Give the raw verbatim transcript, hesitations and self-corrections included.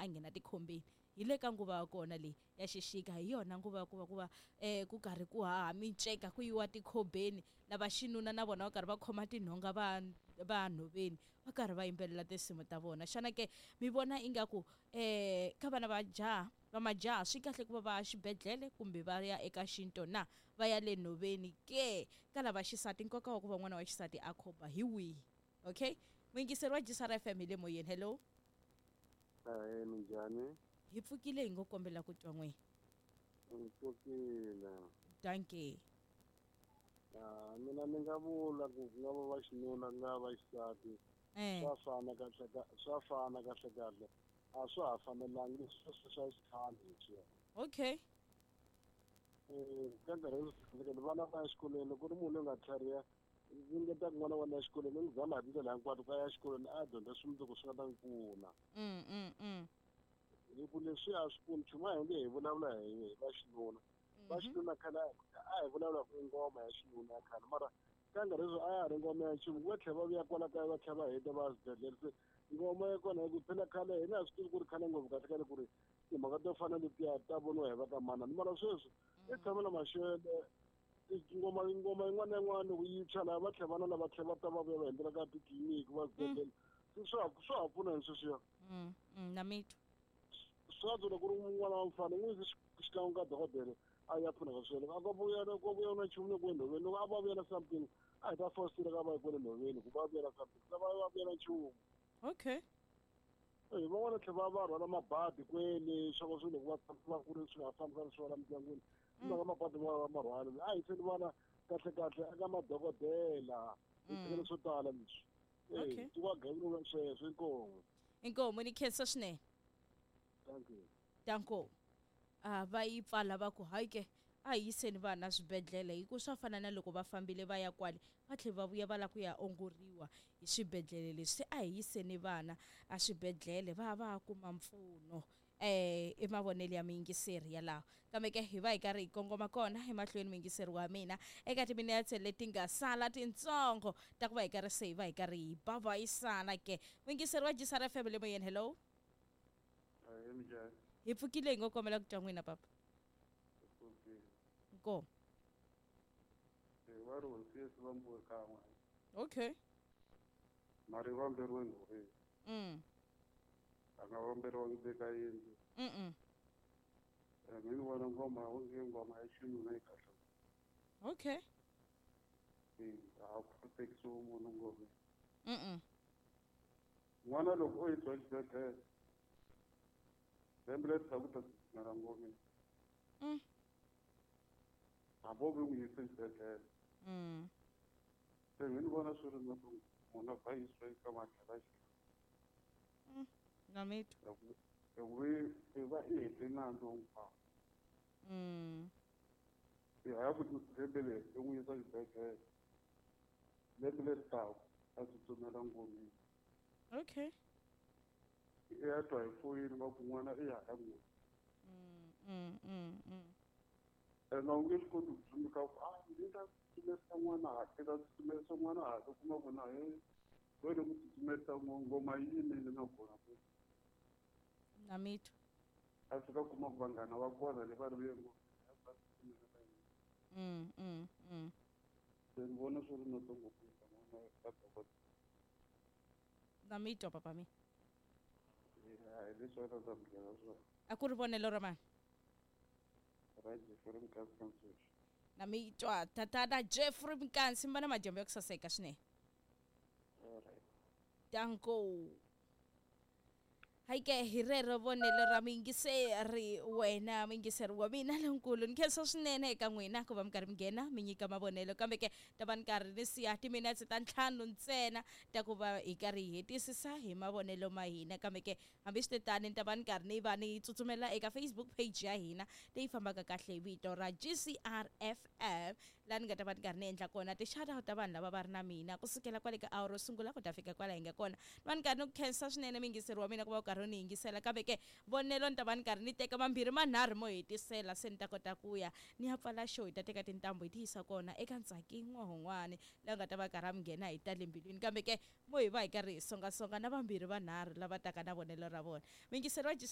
a nghena tikhombeni hi le ka nguva ya kona leyi ya xixika hi yona nguva ya ku va ku va um ku karhi ku haha miceka ku yiwa tikhobeni lava xinuna na vona va karhi va khoma tinhonga va va nhoveni va karhi va yimbelela tinsimu ta vona. Xana ke mi vona ingaku um ka vana va jaha va majaha swi kahle ku va va ya xibedhlele kumbe va ya eka xinto na va ya le nhoveni ke? Ka lava xisati nkoka wa ku va n'wana wa xisati a khoba hi wihi? Okay, muyingiseri wa G S R F M hi le moyeni. Hello. Ahee, minjhani? Hi pfukile, hi ngo kombela ku twa n'wina. Hi pfukile. Dankie. Ah, mina ni nga vula ku ku nga va va xinuna ku nga va xisati. Eh. Swa fana kahle ka, swa fana kahle kahle. A swa ha fanelangi leswi swa swa xikhale leswiya. Okay. Eh, ka nkarhi wa sweswi, vana va ya exikolweni, loko ku ri munhu loyi nga tlhariha, ringeta ku n'wana wa wena exikolweni, u n'wi zama hi tindlela hinkwato ku a ya exikolweni a ya dyondza swimundzuku swi nga ta n'wi pfuna. Mm, mm, mm. Hi ku leswi a swi pfuni nchumu, a hi nge hi vulavula hi, hi va xinuna. Va xinuna khale a hi vulavula ku i ngoma ya xinuna ya khale, mara ka nkarhi sweswi a ya ha ri ngoma ya nchumu, va tlhela va vuya kwala kaya va tlhela va heta va ya swibedhlele. Se ngoma ya kona hi ku phela khale hina a swi tivi ku ri khale ngopfu kahle kahle ku ri timhaka to fana letiya ta voniwa hi va ka manana, mara sweswi i tshama na maxele ngoma ngoma yin'wana na yin'wana loko yi tshwa laha va tlhela vana lava tlhela va ta va vuya va hundzela ka titliliniki va swibedhlele. Se swa ha swa ha pfuna hi sweswiya. Mm, mm, na mitwa. Swi antswa loko ku ri n'wana wa mufana n'wi yise xikan'we ka dokodela a ya pfuneka sweswo. Loko a vuya loko a vuya na nchumu le ku nhoveni, loko a va vuya na something a hi ta fositela ka va yi kwale nhoveni ku va vuya na something, se va va vuya na nchumu. Okay. Eh, van'wana tlhela va va rhwala mabadi kwele swa ku swilo loko va tshama va ku ri swi nga fambisani swona mindyangwini. Mm. Mhaka mabadi va va ma rhwala. A hi seni vana kahle kahle eka madokodela. Hi Mm. tlhela swo tala leswi. Eh, Okay. ti wa gavula sweswo inkomu. Inkomu ni khensa swinene. Thank you. Danko. Ah, va yi pfala va ku hayi ke a hi yiseni vana swibedhlele hi ku swa fana na loko va fambile va ya kwale va tlhela va vuya va lava ku ya ongoriwa hi swibedhlele leswi. Se a hi yiseni vana a swibedhlele va va kuma mpfuno. Eh, i mavonelo ya muyingiseri yalawo. Kambe ke hi va hi karhi hi kongoma kona emahlweni muyingiseri wa mina eka timinetse leti nga sala tintsongo ta ku va hi karhi se hi va hi karhi hi babayisana ke. Muyingiseri wa G S R F M le moyeni, hello. Ahee, minjhani? Hi pfukile, hi ngo kombela ku twa n'wina papa. Hi pfukile. Nkomu. Eh, va ri hosi Yesu va mbuwe kan'we. Okay. Mara yi vamberiwe nhoveni. Mm. A nga vamberiwangi le ka yindlu. Mm-mm. Eh, mi ni vona ngoma onge ngoma ya xinuna yi kahle. Okay. Eh, a ku tekisiwi munhu ngomeni. Mm-mm. N'wana loko o yisiwa exibedhlele, lembe leri taka u ta tsutsumela ngomeni. Mm. Hambi o ve n'wi yisa exibedhlele. Mm. Se mi ni vona swi ri na ku munhu a va yisiwa eka madlala xi. Mm. Na mitwa. Hi ku i va i hete nandzu hinkwawo. Mm. I haya ku lembe leri i n'wi yisa exibedhlele. Lembe leri taka a tsutsumela ngomeni. Okay. I ya twa hi foyini va ku n'wana i ya ka n'wina. Mm, mm, mm, mm. Ene a wu nge swi koti ku tsundzuka ku, ah, ndzi ta tsutsumerisa n'wana hala, ndzi ta tsutsumerisa n'wana hala, u kuma ku na he, wena ku tsutsumerisa ngoma yi yimile na kona ku. Na mitwa. A fika kuma ku vanghana va kona le va ri vuye ngopfu, va tsutsumela ka yena. Mm, mm, mm. Se ni vona swi ri noto ngopfu ku yisa n'wana ka dokodela. Na mitwa papa mina. Eh, a hi leswi a ta ta mi byela swona. A ku ri vonelo ra mani? Ra Jeffrey Mkansi ka Ntshuxo. Na mitwa tatana Jeffrey Mkansi, mi va na madyambu ya ku saseka swinene. All right. Danko. Hayi ke hi rero vonelo ra muyingiseri wena muyingiseri wa mina lonkulu. Ni khensa swinene eka n'wina ku va mi karhi mi nghena mi nyika mavonelo, kambe ke ta va ni karhi ni siya timinetse ta ntlhanu ntsena ta ku va hi karhi hi hetisisa hi mavonelo ma hina. Kambe ke hambi swi tani ni ta va ni karhi ni va ni tsutsumela eka Facebook page ya hina leyi fambaka kahle hi vito ra G C R F M, laha ni nga ta va ni karhi ni endla kona ti-shout-out ta vanhu lava va ri na mina kusukela kwale ka awara ro sungula ku ta fika kwala hi nga kona. Ni va ni karhi ni ku khensa swinene muyingiseri wa mina ku va u karhi ni yingisela, kambe ke vonelo ni ta va ni karhi ni teka mambirhi manharhu mo hetisela se ni ta kota ku ya ni ya pfala show. Hi ta teka tintambu hi ti yisa kona eka Ntsaki N'wahon'wani laha nga ta va karhi a mi nghena hi ta le mbilwini, kambe ke mo hi va hi karhi hi songasonga na vambirhi vanharhu lava taka na vonelo ra vona. Muyingiseri wa G C